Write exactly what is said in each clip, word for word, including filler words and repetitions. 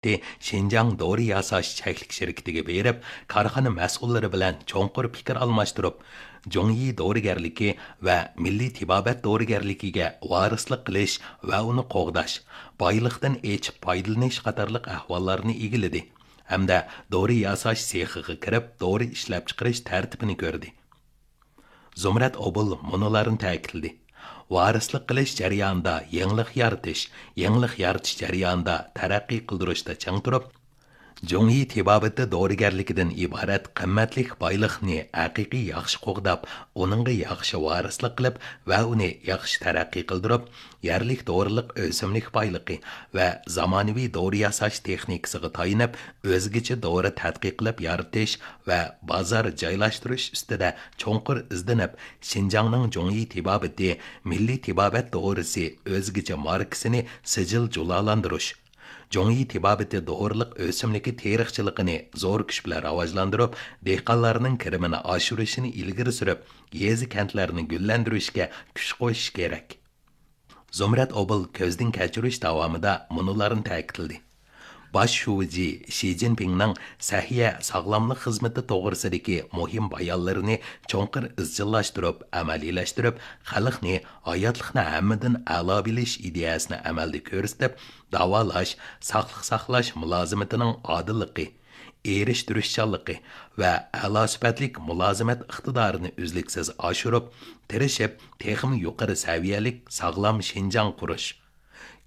شىنجاڭ دورا ياساش چەكلىك شىركىتىگە بېرىپ، كارخانا مەسئۇللىرى بىلەن چوڭقۇر پىكىر ئالماشتۇرۇپ، جۇڭيى دورىگەرلىكى ۋە مىللىي تېبابەت دورىگەرلىكىگە ۋارىسلىق قىلىش ۋە ئۇنى قوغداش، بايلىقتىن ئېچىپ پايدىلىنىش قاتارلىق ئەھۋاللارنى ئىگىلىدى ھەمدە دورا ياساش سېخىغا كىرىپ، دورا ئىشلەپچىقىرىش تەرتىپىنى كۆردى. زۇمرەت ئوبۇل مۇنۇلارنى تەكىتلىدى: ۋارىسلىق قىلىش جەريانىدا يېڭىلىق يارىتىش، يېڭىلىق يارىتىش جەريانىدا تەرەققىي قىلدۇرۇشتا چىڭ تۇرۇپ، جۇڭيى تېبابىتى دورىگەرلىكىدىن ئىبارەت قىممەتلىك بايلىقنى ھەقىقىي ياخشى قوغداپ، ئۇنىڭغا ياخشى ۋارىسلىق قىلىپ ۋە ئۇنى ياخشى تەرەققىي قىلدۇرۇپ، يەرلىك دورىلىق ئۆسۈملۈك بايلىقى ۋە زامانىۋى دورا ياساش تېخنىكىسىغا تايىنىپ، ئۆزگىچە دورا تەتقىق قىلىپ يارىتىش ۋە بازار جايلاشتۇرۇش ئۈستىدە چوڭقۇر ئىزدىنىپ، شىنجاڭنىڭ جۇڭيى تېبابىتى مىللىي تېبابەت دورىسى ئۆزگىچە ماركىسىنى سىجىل جۇلالاندۇرۇش، جۇڭيى تېبابىتى دورىلىق ئۆسۈملۈكى تېرىقچىلىقىنى زور كۈچ بىلەن راۋاجلاندۇرۇپ، دېھقانلارنىڭ كىرىمىنى ئاشۇرۇشىنى ئىلگىرى سۈرۈپ، يېزا، كەنتلەرنى گۈللەندۈرۈشكە كۈچ قوشۇش كېرەك. زۇمرەت ئوبۇل كۆزدىن كەچۈرۈش داۋامىدا مۇنۇلارنى تەكىتلىدى: باش شۇجى شى جىنپىڭنىڭ سەھىيە ساغلاملىق خىزمىتى توغرىسىدىكى مۇھىم بايانلىرىنى چوڭقۇر ئىزچىللاشتۇرۇپ، ئەمەلىيلەشتۈرۈپ، خەلقنى ھاياتلىقنى ھەممىدىن ئەلا بىلىش ئىدىيەسىنى ئەمەلدە كۆرسىتىپ، داۋالاش، ساقلىق ساقلاش مۇلازىمىتىنىڭ ئادىللىقى، ئېرىشتۈرۈشچانلىقى ۋە ئەلا سۈپەتلىك مۇلازىمەت ئىقتىدارىنى ئۈزلۈكسىز ئاشۇرۇپ، تىرىشىپ، تېخىمۇ يۇقىرى سەۋىيەلىك ساغلام شىنجاڭ قۇرۇش،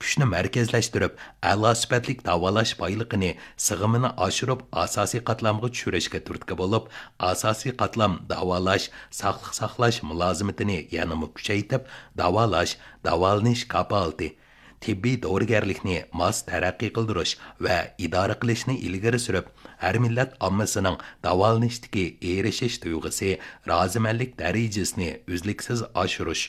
كۈچنى مەركەزلەشتۈرۈپ، ئەلا سۈپەتلىك داۋالاش بايلىقىنى سىغىمىنى ئاشۇرۇپ، ئاساسىي قاتلامغا چۈشۈرۈشكە تۈرتكە بولۇپ، ئاساسىي قاتلام داۋالاش، ساقلىق ساقلاش مۇلازىمىتىنى يەنىمۇ كۈچەيتىپ، داۋالاش، داۋالىنىش كاپالىتى، تېببىي دورىگەرلىكنى ماس تەرەققىي قىلدۇرۇش ۋە ئىدارە قىلىشنى ئىلگىرى سۈرۈپ، ھەر مىللەت ئاممىسىنىڭ داۋالىنىشتىكى ئېرىشىش تۇيغۇسى، رازىمەنلىك دەرىجىسىنى ئۈزلۈكسىز ئاشۇرۇش،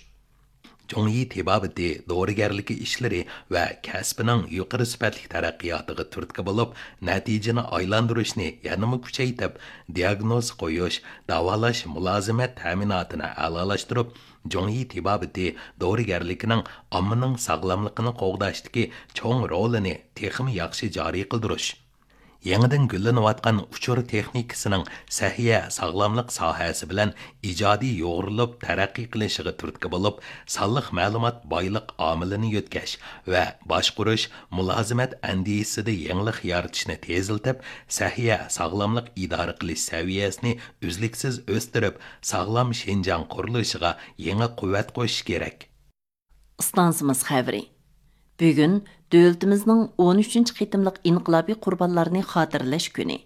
جۇڭيى تېبابىتى دورىگەرلىكى ئىشلىرى ۋە كەسپىنىڭ يۇقىرى سۈپەتلىك تەرەققىياتىغا تۈرتكە بولۇپ، نەتىجىنى ئايلاندۇرۇشنى يەنىمۇ كۈچەيتىپ، دىئاگنوز قويۇش، داۋالاش مۇلازىمەت تەمىناتىنى ئەلالاشتۇرۇپ، جۇڭيى تېبابىتى دورىگەرلىكىنىڭ ئاممىنىڭ ساغلاملىقىنى قوغداشتىكى چوڭ رولىنى تېخىمۇ ياخشى جارى قىلدۇرۇش، يېڭىدىن گۈللىنىۋاتقان ئۇچۇر تېخنىكىسىنىڭ سەھىيە ساغلاملىق ساھەسى بىلەن ئىجادىي يۇغۇرۇلۇپ تەرەققىي قىلىشىغا تۈرتكە بولۇپ، سانلىق مەلۇمات بايلىق ئامىلىنى يۆتكەش ۋە باشقۇرۇش، مۇلازىمەت ئەندىزىسىدە يېڭىلىق يارىتىشنى تېزلىتىپ، سەھىيە ساغلاملىق ئىدارە قىلىش سەۋىيەسىنى ئۈزلۈكسىز ئۆستۈرۈپ، ساغلام شىنجاڭ قۇرۇلۇشىغا يېڭى قۇۋۋەت قوشۇش كېرەك. ئىستانسىمىز خەۋىرى. بۈگۈن دۆلىتىمىزنىڭ ئون ئۈچىنچى قېتىملىق ئىنقىلابىي قۇربانلارنى خاتىرىلەش كۈنى.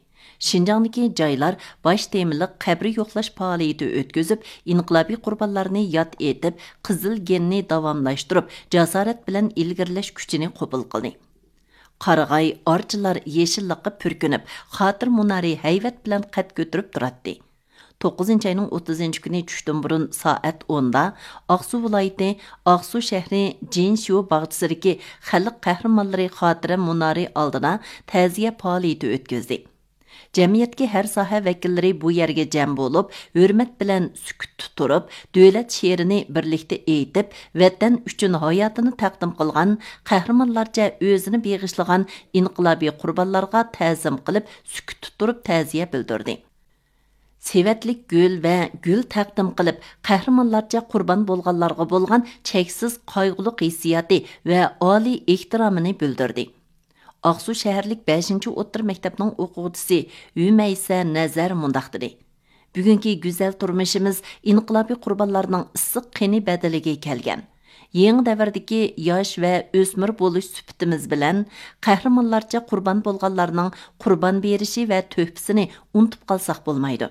شىنجاڭدىكى جايلار باش تېمىلىق قەبرە يوقلاش پائالىيىتى ئۆتكۈزۈپ، ئىنقىلابىي قۇربانلارنى ياد ئېتىپ، قىزىل گېننى داۋاملاشتۇرۇپ، جاسارەت بىلەن ئىلگىرىلەش كۈچىنى قوبۇل قىلدى. قارىغاي، ئارچىلار يېشىللىققا پۈركىنىپ، خاتىرە مۇنارى ھەيۋەت بىلەن قەد كۆتۈرۈپ تۇراتتى. توققۇزىنچى ئاينىڭ ئوتتۇزىنچى كۈنى چۈشتىن بۇرۇن سائەت ئوندا ئاقسۇ ۋىلايىتى ئاقسۇ شەھىرى جىنشيۇ باغچىسىدىكى خەلق قەھرىمانلىرى خاتىرە مۇنارى ئالدىدا تەزىيە پائالىيىتى ئۆتكۈزدى. جەمئىيەتتىكى ھەر ساھە ۋەكىللىرى بۇ يەرگە جەم بولۇپ، ھۆرمەت بىلەن سۈكۈتتە تۇرۇپ، دۆلەت شېئىرىنى بىرلىكتە ئېيتىپ، ۋەتەن ئۈچۈن ھاياتىنى تەقدىم قىلغان، قەھرىمانلارچە ئۆزىنى بېغىشلىغان ئىنقىلابىي قۇربانلارغا تەزىم قىلىپ، سۈكۈتتە تۇرۇپ تەزىيە بىلدۈردى. سېۋەتلىك گۈل ۋە گۈل تەقدىم قىلىپ، قەھرىمانلارچە قۇربان بولغانلارغا بولغان چەكسىز قايغۇلۇق ھېسسىياتى ۋە ئالىي ئېھتىرامىنى بىلدۈردى. ئاقسۇ شەھەرلىك بەشىنچى ئوتتۇرا مەكتەپنىڭ ئوقۇغۇچىسى ھۈمەيسە نەزەر مۇنداق دېدى: بۈگۈنكى گۈزەل تۇرمۇشىمىز ئىنقىلابىي قۇربانلارنىڭ ئىسسىق قېنى بەدىلىگە كەلگەن. يېڭى دەۋردىكى ياش ۋە ئۆسمۈر بولۇش سۈپىتىمىز بىلەن قەھرىمانلارچە قۇربان بولغانلارنىڭ قۇربان بېرىشى ۋە تۆھپىسىنى ئۇنتۇپ قالساق بولمايدۇ.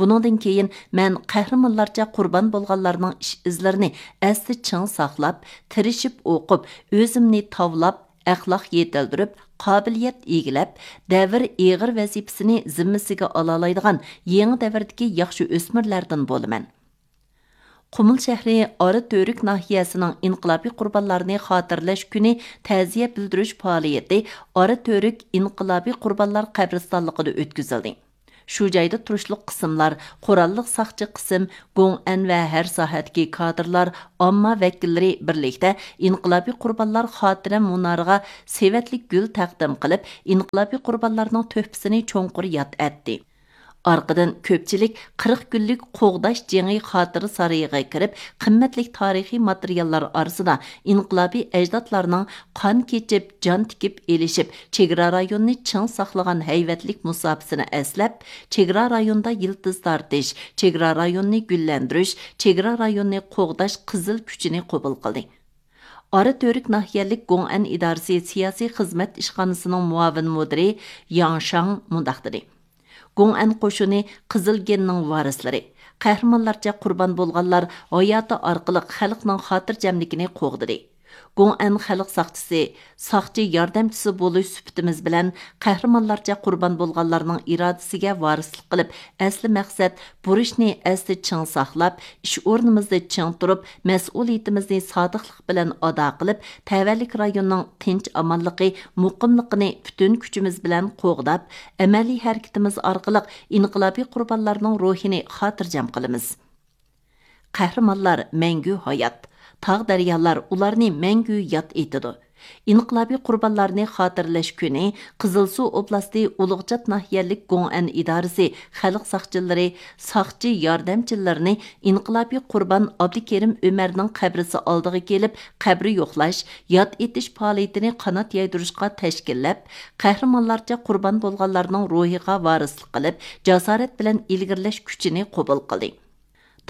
بۇنىڭدىن كېيىن مەن قەھرىمانلارچە قۇربان بولغانلارنىڭ ئىش ئىزلىرىنى ئەستە چىڭ ساقلاپ، تىرىشىپ ئوقۇپ، ئۆزۈمنى تاۋلاپ، ئەخلاق يېتىلدۈرۈپ، قابىلىيەت ئىگىلەپ، دەۋر ئېغىر ۋەزىپىسىنى زىممىسىگە ئالالايدىغان يېڭى دەۋردىكى ياخشى ئۆسمۈرلەردىن بولىمەن. قۇمۇل شەھىرى ئارا تۈرك ناھىيەسىنىڭ ئىنقىلابىي قۇربانلارنى خاتىرىلەش كۈنى تەزىيە بىلدۈرۈش پائالىيىتى ئارا تۈرك ئىنقىلابىي قۇربانلار قەبرىستانلىقىدا ئۆتكۈزۈلدى. شۇ جايدا تۇرۇشلۇق قىسىملار، قوراللىق ساقچى قىسىم، گوڭئەن ۋە ھەر ساھەدىكى كادىرلار، ئامما ۋەكىللىرى بىرلىكتە ئىنقىلابىي قۇربانلار خاتىرە مۇنارىغا سېۋەتلىك گۈل تەقدىم قىلىپ، ئىنقىلابىي قۇربانلارنىڭ تۆھپىسىنى چوڭقۇر ياد ئەتتى. ئارقىدىن كۆپچىلىك قىرىق كۈنلۈك قوغداش جېڭى خاتىرە سارىيىغا كىرىپ، قىممەتلىك تارىخىي ماتېرىياللار ئارىسىدا ئىنقىلابىي ئەجدادلارنىڭ قان كېچىپ، جان تىكىپ ئېلىشىپ، چېگرا رايونىنى چىڭ ساقلىغان ھەيۋەتلىك مۇساپىسىنى ئەسلەپ، چېگرا رايونىدا يىلتىز تارتىش، چېگرا رايونىنى گۈللەندۈرۈش، چېگرا رايونىنى قوغداش قىزىل كۈچىنى قوبۇل قىلدى. ئارا تۈرك ناھىيەلىك گوڭئەن ئىدارىسى سىياسىي خىزمەت ئىشخانىسىنىڭ مۇئاۋىن مۇدىرى ياڭ شاڭ مۇنداق دېدى: گوڭئەن قوشۇنى قىزىل گېننىڭ ۋارىسلىرى. قەھرىمانلارچە قۇربان بولغانلار ھاياتى ئارقىلىق خەلقنىڭ خاتىرجەملىكىنى قوغدىدى. گوڭئەن خەلق ساقچىسى، ساقچى ياردەمچىسى بولۇش سۈپىتىمىز بىلەن قەھرىمانلارچە قۇربان بولغانلارنىڭ ئىرادىسىگە ۋارىسلىق قىلىپ، ئەسلى مەقسەت بۇرچنى ئەستە چىڭ ساقلاپ، ئىش ئورنىمىزدا چىڭ تۇرۇپ، مەسئۇلىيىتىمىزنى سادىقلىق بىلەن ئادا قىلىپ، تەۋەلىك رايوننىڭ تىنچ-ئامانلىقى، مۇقىملىقىنى پۈتۈن كۈچىمىز بىلەن قوغداپ، ئەمەلىي ھەرىكىتىمىز ئارقىلىق ئىنقىلابىي قۇربانلارنىڭ روھىنى خاتىرجەم قىلىمىز. قەھرىمانلار مەڭگۈ ھايات. تاغ-دەريالار ئۇلارنى مەڭگۈ ياد ئېتىدۇ. ئىنقىلابىي قۇربانلارنى خاتىرىلەش كۈنى قىزىلسۇ ئوبلاستى ئۇلۇغچات ناھىيەلىك گوڭئەن ئىدارىسى خەلق ساقچىلىرى، ساقچى ياردەمچىلىرىنى ئىنقىلابىي قۇربان ئابدۇكېرىم ئۆمەرنىڭ قەبرىسى ئالدىغا كېلىپ، قەبرە يوقلاش، ياد ئېتىش پائالىيىتىنى قانات يايدۇرۇشقا تەشكىللەپ، قەھرىمانلارچە قۇربان بولغانلارنىڭ روھىغا ۋارىسلىق قىلىپ، جاسارەت بىلەن ئىلگىرىلەش كۈچىنى قوبۇل قىلدى.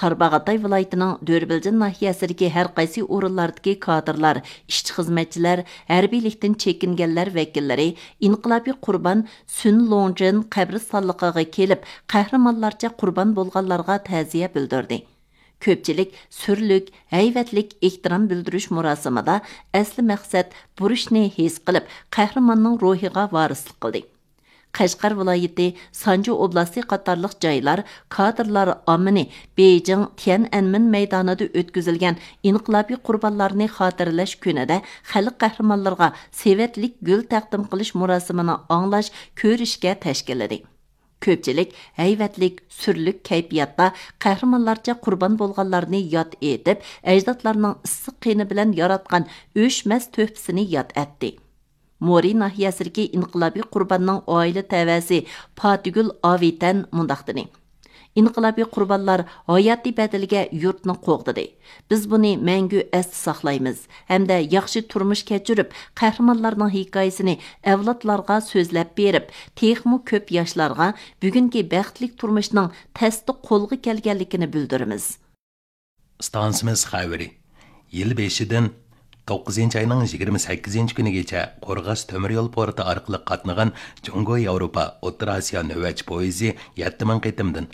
تارباغاتاي ۋىلايىتىنىڭ دۆربىلجىن ناھىيەسىدىكى ھەر قايسى ئورۇنلاردىكى كادىرلار، ئىشچى-خىزمەتچىلەر، ھەربىيلىكتىن چېكىنگەنلەر ۋەكىللىرى ئىنقىلابىي قۇربان سۈن لوڭجىن قەبرىستانلىقىغا كېلىپ، قەھرىمانلارچە قۇربان بولغانلارغا تەزىيە بىلدۈردى. كۆپچىلىك سۈرلۈك، ھەيۋەتلىك ئېھتىرام بىلدۈرۈش مۇراسىمىدا ئەسلى مەقسەت بۇرچنى ھېس قىلىپ، قەھرىماننىڭ روھىغا ۋارىسلىق قىلدى. قەشقەر ۋىلايىتى، سانجى ئوبلاستى قاتارلىق جايلار كادىرلار ئاممىنى بېيجىڭ تيەنئەنمېن مەيدانىدا ئۆتكۈزۈلگەن ئىنقىلابىي قۇربانلارنى خاتىرىلەش كۈنىدە خەلق قەھرىمانلىرىغا سېۋەتلىك گۈل تەقدىم قىلىش مۇراسىمىنى ئاڭلاش، كۆرۈشكە تەشكىللىدى. كۆپچىلىك ھەيۋەتلىك، سۈرلۈك كەيپىياتتا قەھرىمانلارچە قۇربان بولغانلارنى ياد ئېتىپ، ئەجدادلارنىڭ ئىسسىق قېنى بىلەن ياراتقان ئۆچمەس تۆھپىسىنى ياد ئەتتى. مورى ناھىيەسىدىكى ئىنقىلابىي قۇرباننىڭ ئائىلە تەۋەسى پاتىگۈل ئاۋېتەن مۇنداق دېدى: ئىنقىلابىي قۇربانلار ھاياتىي بەدىلىگە يۇرتنى قوغدىدى. بىز بۇنى مەڭگۈ ئەستە ساقلايمىز ھەمدە ياخشى تۇرمۇش كەچۈرۈپ، قەھرىمانلارنىڭ ھېكايىسىنى ئەۋلادلارغا سۆزلەپ بېرىپ، تېخىمۇ كۆپ ياشلارغا بۈگۈنكى بەختلىك تۇرمۇشنىڭ تەستە قولغا كەلگەنلىكىنى بىلدۈرىمىز. ئىستانسىمىز خەۋىرى. يىل بېشىدىن توققۇزىنچى ئاينىڭ يىگىرمە سەككىزىنچى كۈنىگىچە قورغاس تۆمۈر يول پورتى ئارقىلىق قاتنىغان جۇڭگو ياۋروپا ئوتتۇرا ئاسىيا نۆۋەتچى پويىزى يەتتە مىڭ قېتىمدىن،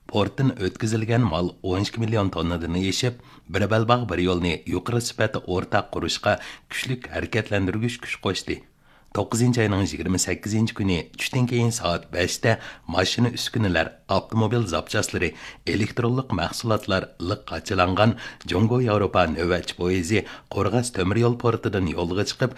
پورتتىن ئۆتكۈزۈلگەن مال ئون ئىككى مىليون توننىدىن ئېشىپ، بىر بەلباغ بىر يولنى يۇقىرى سۈپەتتە ئورتاق قۇرۇشقا كۈچلۈك ھەرىكەتلەندۈرگۈچ كۈچ قوشتى. توققۇزىنچى ئاينىڭ يىگىرمە سەككىزىنچى كۈنى چۈشتىن كېيىن سائەت بەشتە ماشىنا ئۈسكۈنىلەر، ئاپتوموبىل زاپچاسلىرى، ئېلېكترونلۇق مەھسۇلاتلار لىق قاچىلانغان جۇڭگو ياۋروپا نۆۋەتچى پويىزى قورغاس تۆمۈر يول پورتىدىن يولغا چىقىپ،